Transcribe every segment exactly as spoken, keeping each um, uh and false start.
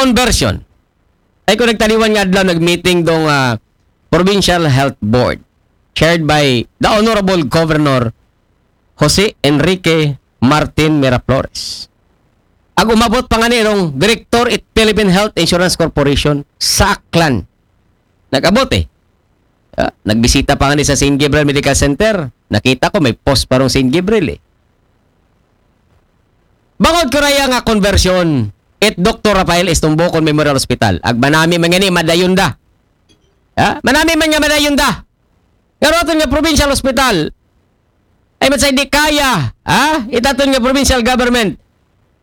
conversion. Ay ko nagtaliwan nga adlaw, nag-meeting dong ah, Provincial Health Board, chaired by the Honorable Governor Jose Enrique Martin Miraflores. Ag umabot pa nga ni rong Director it Philippine Health Insurance Corporation sa Aklan. Nag-abot eh. Ah, nagbisita pa nga ni sa Saint Gabriel Medical Center. Nakita ko may post pa rong Saint Gabriel eh. Bangod ko raya nga conversion, it Doktor Rafael Estumbocon Memorial Hospital. Ag manami man nga ni madayon da. Ha? Manami man nga madayon da. Nga aton nga provincial hospital, ay man sa di kaya, ha? Itaton nga provincial government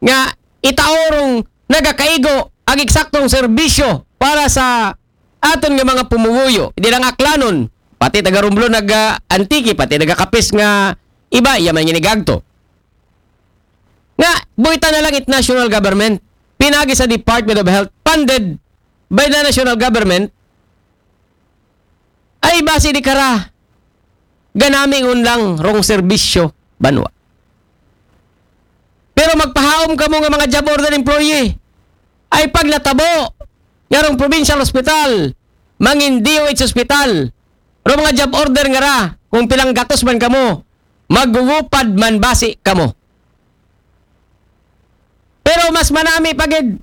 nga itaorong nagakaigo ang eksaktong serbisyo para sa aton nga mga pumuguyo. Di lang Aklanon, pati taga Romblon, naga Antique, pati naga Capiz nga iba, iya man nga nigagto. Nga, buhita na lang it national government. Pinagi sa Department of Health, funded by the national government, ay basi di kara ganami ngun lang rong serbisyo banwa. Pero magpahaom kamo nga mga job order employee, ay pag natabo nga rong provincial hospital, mangin D O H hospital, rong mga job order nga ra, kung pilang gatos man kamo, magugupad man basi kamo. Pero mas manami pa gid,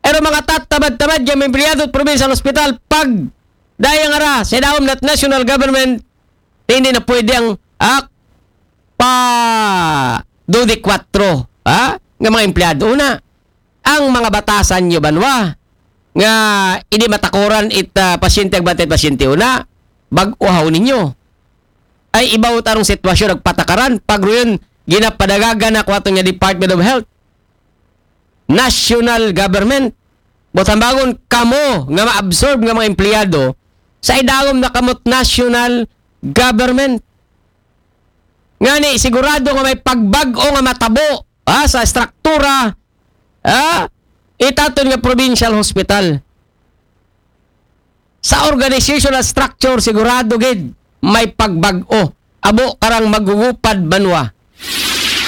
pero mga tatabad-tabad nga mga empleyado sa provincial hospital, pag daya nga ra sa ilaom nat national government, hindi na pwede ang ak pa dodi kwatro, ha? Nga mga empleyado na. Ang mga batasan nyo banwa nga hindi matakuran it ah, pasyente, ag bantay pasyente una, bag-uhaw ninyo. Ay ibaw tarong sitwasyon nagpatakaran, pag ruyon ginapadagagan na kwato nga Department of Health, national government. Butambangon kamo nga ma-absorb nga mga empleyado sa idalom na kamot national government. Ngani, sigurado nga may pagbag-o nga matabo, ha, sa struktura, ha, itaton nga provincial hospital. Sa organizational structure, sigurado gid may pagbag-o. Abo karang magugupad banwa.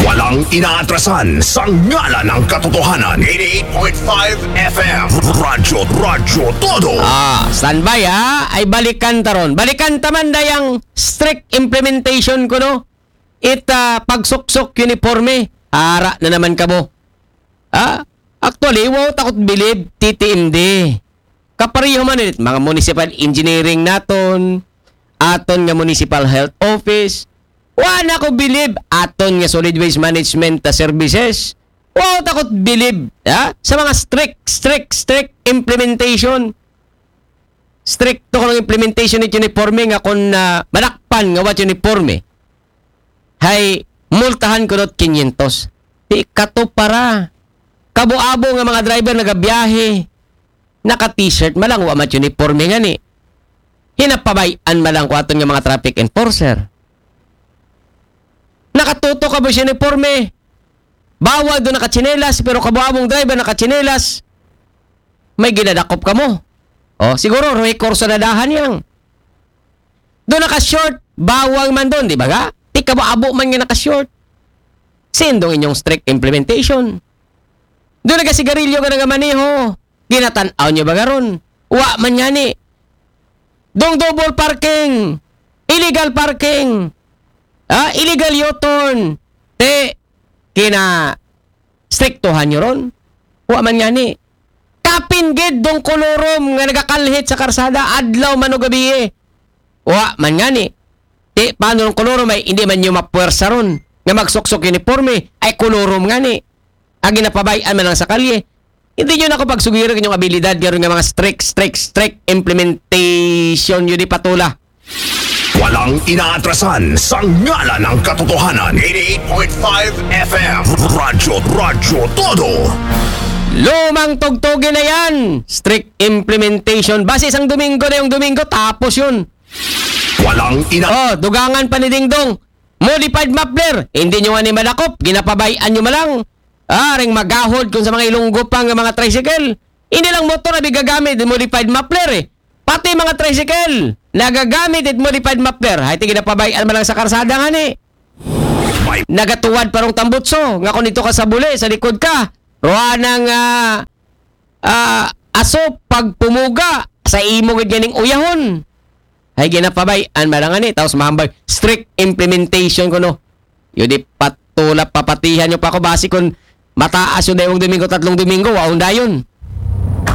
Walang inaatrasan sa ngalan ng katotohanan. eighty-eight point five F M. Radyo, Radyo Todo. Ah, standby ha. Ay balikan ta ron. Balikan ta man dayang strict implementation ko, no? It ah, pagsuksok uniforme. Ara na naman kamo. Ha? Actually, wow takot bilib, T T M D. Kapareho man it mga municipal engineering naton, aton nga municipal health office. Wa na ko bilib aton nga solid waste management ah, services. Wow takot bilib, ha? Sa mga strict, strict, strict implementation. Stricto ko ng implementation it uniforme nga kung ah, manakpan nga wat uniforme, hay multahan ko not kinyentos. Di kato para. Kabo-abo nga mga driver nagabiyahe, naka-t-shirt man lang, wa mat uniforme ngani. Hinapabay-an man lang ko aton nga mga traffic enforcer. Nakatuto ka ba sa uniforme? Bawal do nakatsinelas, pero kabo-abong driver nakatsinelas. May ginadakop kamo. O, siguro, rekurso na dahan yang. Do naka-short, bawal man doon, di ba ga? Di kabo-abo man nga naka-short. Sindong inyong strict implementation. Do nagasigarilyo ka nagamaneho, ginatan-aw nyo ba garon? Wa man ngani. Dong double parking, illegal parking, ha? Illegal U-turn, te, kina striktuhan nyo ron? Wa man ngani. Kapin gid dong kolorom nga nagakalhit sa karsada, adlaw man o gabi. Wa man ngani. Ti, paano ng kolorom ay hindi man nyo mapuwersa ron nga magsuksok uniforme, ay kolorom ngani. Agi na pabay-an man lang sa kalye. Hindi nyo na ako pagsugiran inyong abilidad nga ron nga mga strict, strict, strict implementation nyo di patula. Walang inaatrasan sa ngalan ng katotohanan. eighty-eight point five F M. Radyo, Radyo Todo. Lumang tugtugin na yan. Strict implementation. Base isang Domingo na yung Domingo, tapos yun. Walang ina... Oh, dugangan pa ni Dingdong. Modified muffler. Hindi nyo nga ni madakop. Ginapabayaan nyo malang. Ah, ring magahod kung sa mga Ilonggo pa nga mga tricycle. Hindi lang motor na gagamit, modified muffler eh. Pati mga tricycle, nagagamit it modified muffler. Hay, tigil na pabayaan man lang sa karsada nga ni. Nagatuwad parong tambutso, nga kung dito ka sa buli, sa likod ka, ruanang ah, Ah, aso pagpumuga sa imo gid ganing uyahon. Ay ginapabay-an man lang ani, tapos mahambal strict implementation kuno. Yo di patulap papatihan yo pa ako basi kun mataas yo daywang Domingo, tatlong Domingo, waon dayon.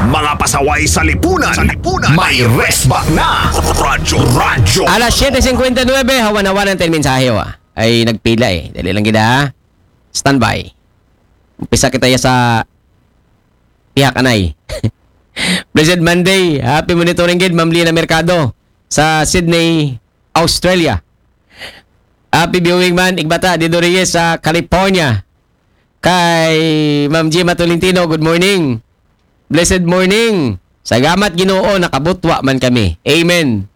Mga pasaway sa lipunan. Sa lipunan. May resback na. Radyo. Radyo. Alas siyete cincuenta y nueve, hawan-hawan ang ten mensahe wa. Ay nagpila eh. Dali lang gid ha. Standby. Umpisa kita ya sa pihak anay. Blessed Monday. Happy monitoring gid, Ma'am Lina Mercado sa Sydney, Australia. Happy viewing man, Igbata, Dido Reyes sa California. Kay Ma'am Gina Tolentino, good morning. Blessed morning. Salamat Ginoo, nakabutwa man kami. Amen.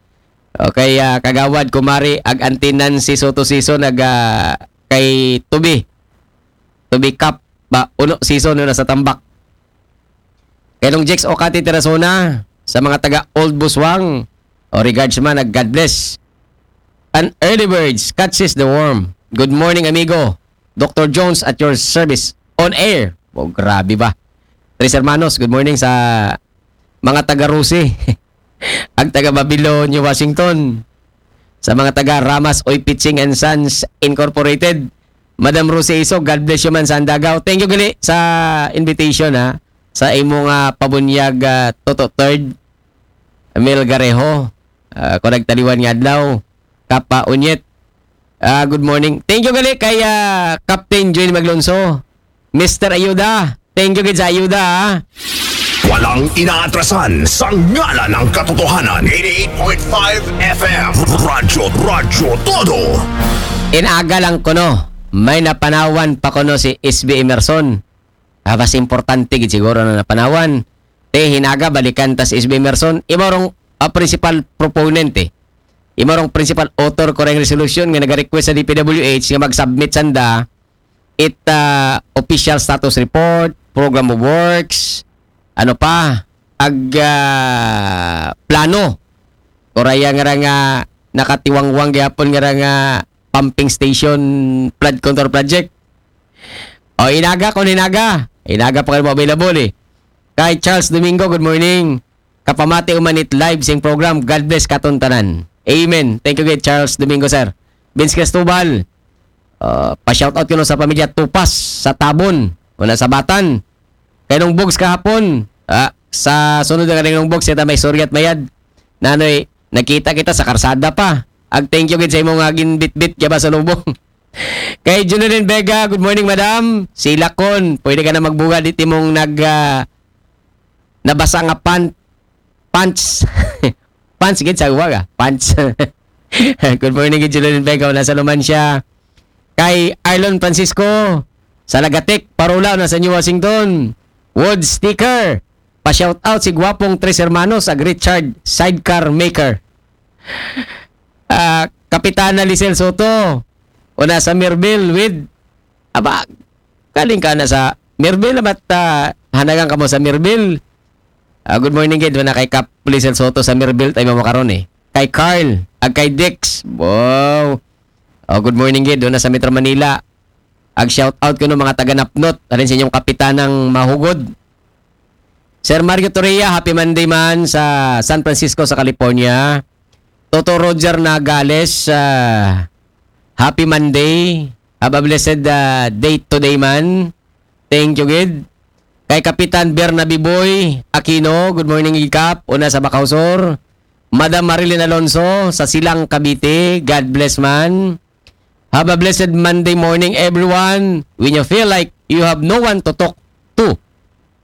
Okay, ah, kagawad, kumari, ag antinan si Soto Season, ag ah, kay Tubi. Tubi Cup, ba, uno season na sa tambak. Kay Nong Jex Okati Terasona, sa mga taga Old Buswang, o regards man, ag God bless. An early birds catches the worm. Good morning, amigo. Doctor Jones at your service. On air. Oh, grabe ba? Tres Hermanos, good morning sa mga taga Rusi. Ang taga Babylonia, Washington. Sa mga taga Ramas Oy Pitching and Sons Incorporated. Madam Rusi Iso, God bless you man sa Andagaw. Thank you gali sa invitation ha. Sa imong ah, pabunyag ah, Toto Third, Mel Garejo. Ah, ako nagtaliwan nga adlaw. Kapa Unyet. Ah, good morning. Thank you gali kay ah, Captain Joel Maglonso. Mister Ayuda. Thank you gid sa ayuda ha. Walang inaatrasan sa ngalan ng katotohanan. eighty-eight point five F M. Radyo, Radyo Todo. Inaga lang kuno. May napanawan pa kuno si S B Emerson. Ah, mas importante gid siguro na napanawan. Te, hinaga, balikan ta si S B Emerson. Imo rong ah, principal proponent eh. Imo rong principal author ko ring resolution nga nag-request sa D P W H nga mag-submit sanda it ah, official status report, program of works, ano pa, ag ah, plano. Kuraya nga ra nga nakatiwangwang gyapon nga ra nga pumping station flood control project. O inaga kung inaga. Inaga pa kayo available eh. Kay Charles Domingo, good morning. Kapamati umanit live sing program. God bless katon tanan. Amen. Thank you gid Charles Domingo, sir. Vince Cristobal, uh, pa-shoutout kuno sa pamilya Tupas sa Tabon. Una sa Batan. Kay nung bugs kahapon, ah, sa sunod na ganing nung bugs, ita may suryat mayad. Nanoy, nakita kita sa karsada pa. Ag thank you gid sa imong nga ginbitbit kaya ba sa lubong. Kay Junilin Vega, good morning madam. Si Lakon, pwede ka na magbuga di timong nag ah, nabasa nga pan pants. Pants gid sa uwaga. Pants. Good morning gid Junilin Vega, nasa Lumancia. Kay Arlon Francisco, sa Lagatek, Parula, nasa New Washington. Wood Sticker, pa-shout out si Gwapong Tres Hermanos ag Richard Sidecar Maker. Ah, Kapitana Lisel Soto, una sa Mirville with, aba, kaling ka na sa Mirville, amat ah, hanagang ka mo sa Mirville. Ah, good morning gid, una kay Kap Lisel Soto sa Mirville, tayo mo karon eh. Kay Carl, ag kay Dix, wow. Oh, good morning gid, una sa Metro Manila. Ag shout out ko no mga taga Napnot, alin sa inyong kapitanang mahugod. Sir Mario Torreya, happy Monday man sa San Francisco sa California. Toto Roger Nagales, ah, happy Monday. Have a blessed ah, day today man. Thank you gid. Kay Kapitan Bernabe Boy Aquino, good morning Ikap, una sa Bacau Sur. Madam Marilyn Alonso sa Silang Cavite, God bless man. Have a blessed Monday morning everyone. When you feel like you have no one to talk to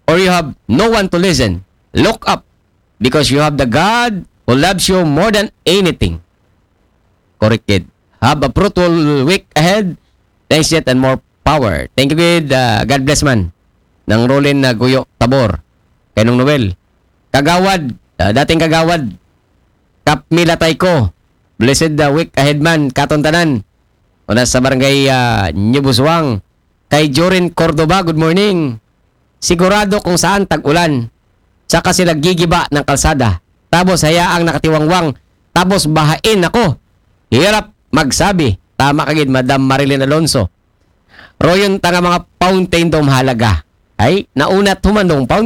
or you have no one to listen, look up because you have the God who loves you more than anything. Correct gid. Have a fruitful week ahead. Thanks yet and more power. Thank you gid. Ah, God bless man. Nang Rolin na Guyo Tabor. Kay Nung Noel. Kagawad, ah, dating kagawad. Kap Mila Tayko. Blessed ah, week ahead man. Katon tanan. Una sa barangay ah, New Busuang. Kay Jorin Cordoba, good morning. Sigurado kung saan tag-ulan. Saka sila gigiba ng kalsada. Tapos hayaang nakatiwangwang. Tapos bahain ako. Hirap magsabi. Tama kagid, Madam Marilyn Alonso. Royon ta nga mga fountain daw mahalaga. Ay, naunat human dong fountain.